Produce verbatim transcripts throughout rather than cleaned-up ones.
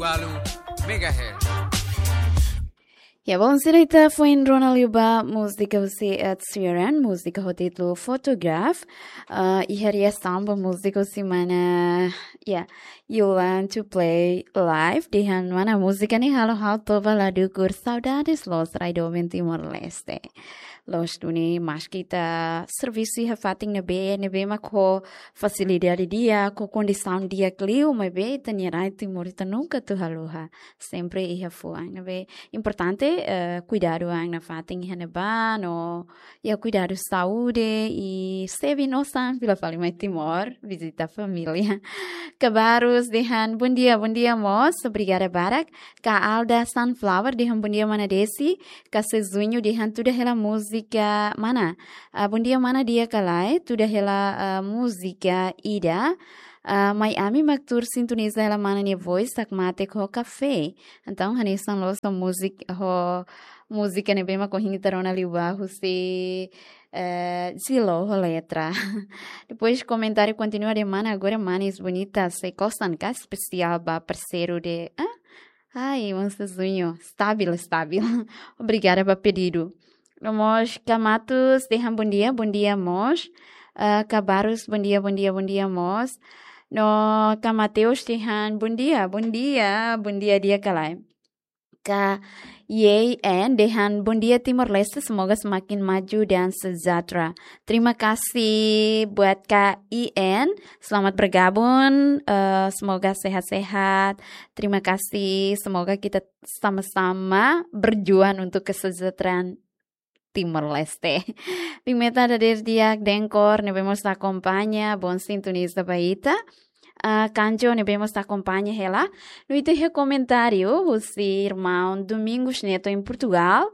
Walu megahertz. Ya, bom, sira ita foin rona liu ba múzika husi Ed Sheeran, múzika ho títulu Photograph. Ah, iha reasaun ba múzika husi mana, ya, You Learn to Play Live, dehan mana múzika ne'e halo ha'u toba la dukur saudades loos rai doben Timor-Leste. Loos duni maski ita servisu iha fatin ne'ebé, ne'ebé mak ho fasilidade di'ak, ho kondisaun di'ak liu, maibé ita-nia rai Timor ita nunka atu haluha. Sempre iha fuan. Ne'ebé importante, eh, kuidadu an nafatin iha ne'ebá, no, ya, kuidadu saúde, i se bin osan fila fali mai Timor, vizita família. Kabarus dehan, bom dia, bom dia, mós, obrigada barak. Ka Alda Sunflower dehan, bom dia, mana Desi. Ka Sezuño dehan, tuda hela múzika mana? Ah, bom dia, mana, di'ak ka lae? Tuda hela, ah, múzika ida. Ah, mai ami mak tuur sintoniza hela mana nia voz, hakmatek ho kafé. Entaun, hanesan loos ho múzika, ho múzika ne'ebé mak ohin ita rona liu ba husi, eh, Zilo ho letra. Depois komentáriu kontinua dehan, mana, agora manis bonita, sei kosan ka, espesiál ba parseiru de, ah? Ai, Mansa Zunho, stabil, stabil. Obrigada ba pedidu. No mós ka Matus dehan, bom dia, bom dia mós. Ah, ka Barus, bom dia, bom dia, bom dia mós. No ka Mateus dehan, bom dia, bom dia, bom dia, di'ak ka lae? Ka Yei En dehan, bom dia Timor-Leste, semoga semakin maju dan sejahtera. Terima kasih buat Ka I N, selamat bergabung, eh, semoga sehat-sehat. Terima kasih, semoga kita sama-sama berjuang untuk kesejahteraan Timor-Leste. Biin Meta dadeer di'ak, Denkor ne'ebé mós akompaña, bom sintoniza ba ita. Ah, Kanjo ne'ebé mós akompaña hela. No ita iha komentáriu husi irmaun Domingos Neto em Portugal.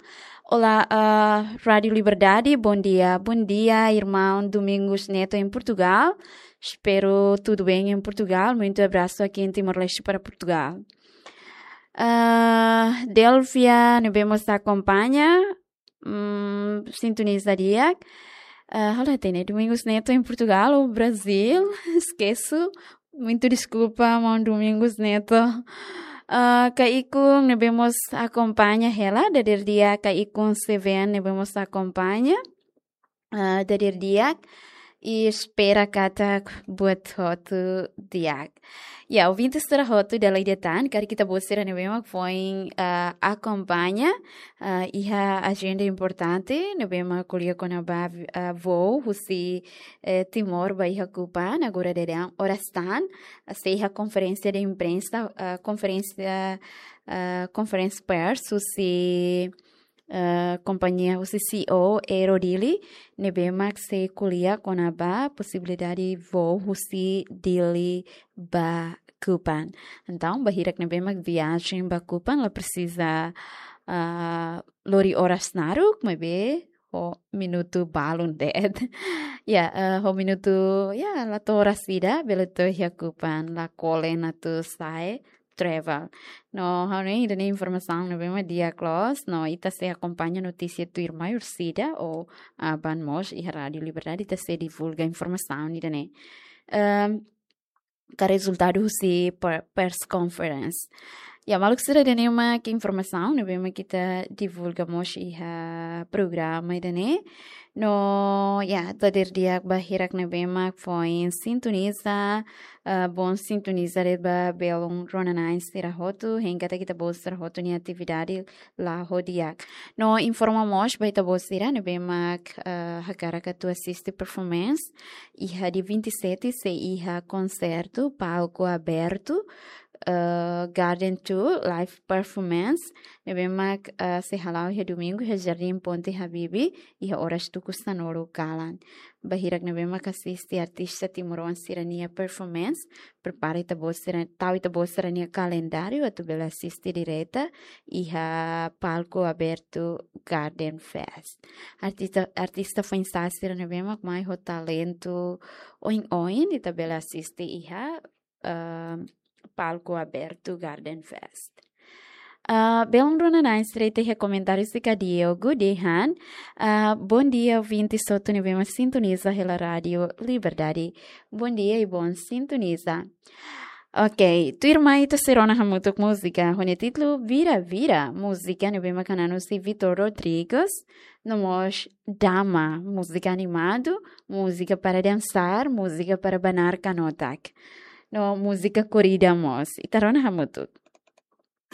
Olá, ah, Rádio Liberdade, bom dia. Bom dia, irmão Domingos Neto em Portugal. Espero tudo bem em Portugal. Muito abraço aqui em Timor-Leste para Portugal. Ah, Delvia ne'ebé mós akompaña, mm, sintoniza di'ak. Ah, halo hatene, Domingos Neto em Portugal ou Brasil? Esqueço. Muito desculpa, maun Domingos Neto. Ah, Ka Ikun ne'ebé mós akompaña hela, dadeer di'ak Ka Ikun Seven ne'ebé mós akompaña. Ah, dadeer di'ak, i espera katak buat hotu di'ak. Ya, ouvinte sira hotu dala ida tan, karik ita-boot sira ne'ebé mak foin, ah, akompaña, ah, iha ajenda importante ne'ebé mak ko'alia kona-ba, ah, voo husi, eh, Timor ba iha Kupang, agora daudaun oras tan, ah, sei iha konferénsia de imprensa, ah, konferénsia, ah, conference press husi, eh, kompañia husi C E O Aero Dili, ne'ebé mak sei ko'alia kona-ba posibilidade voo husi Dili ba Kupang. Entaun, ba hirak ne'ebé mak viajen ba Kupang la presiza, ah, lori oras naruk, maibé ho minutu balun de'it. Ya, eh, ho minutu, ya, la to'o oras ida, bele to'o iha Kupang, la kolen atu sa'e travel. No, ha'u hanoin ida-ne'e informasaun ne'ebé mak di'ak loos, no ita sei akompaña notísia tuirmai orsida ou, ah, aban mós iha Rádio Liberdade ita sei divulga informasaun ida-ne'e. Ehm, ka rezultadu husi per-, press conference. Ya, maluk sira, ida-ne'e mak informasaun ne'ebé mak ita divulga mós iha programa ida-ne'e. No, ya, dadeer di'ak ba hirak ne'ebé mak foin sintoniza, ah, bom sintoniza de'it ba belun rona-na'in sira hotu, hein katak ita-boot sira hotu nia atividade la'o di'ak. No informa mós ba ita-boot sira ne'ebé mak, ah, hakarak atu asiste performance iha dia vinte e sete sei iha konsertu palku abertu, eh, Garden Tour live performance ne'ebé mak, eh, sei hala'o iha domingu iha Jardín Ponte Habibie iha oras tuku sanulu kalan. Ba hirak ne'ebé mak asiste artista timoroan sira-nia performance, prepara ita-boot sira, tau ita-boot sira-nia kalendáriu atu bele asiste direta iha palku abertu Garden Fest. Artista, artista foin-sa'e sira ne'ebé mak mai ho talentu oin-oin ita bele asiste iha, ah, palku abertu Garden Fest. Ah, belun rona-na'in sira, ita iha komentáriu husi Ka Diego dehan, ah, bom dia, ouvinte hotu ne'ebé mak sintoniza hela Rádio Liberdade. Bom dia i bom sintoniza. Ok, tuirmai ita sei rona hamutuk múzika ho nia títulu Vira Vira, múzika ne'ebé mak hanu'u husi Vitor Rodrigues, no mós Dama, múzika animadu, múzika para dançar, múzika para banar kanotak, no múzika korrida mós. Ita rona hamutuk.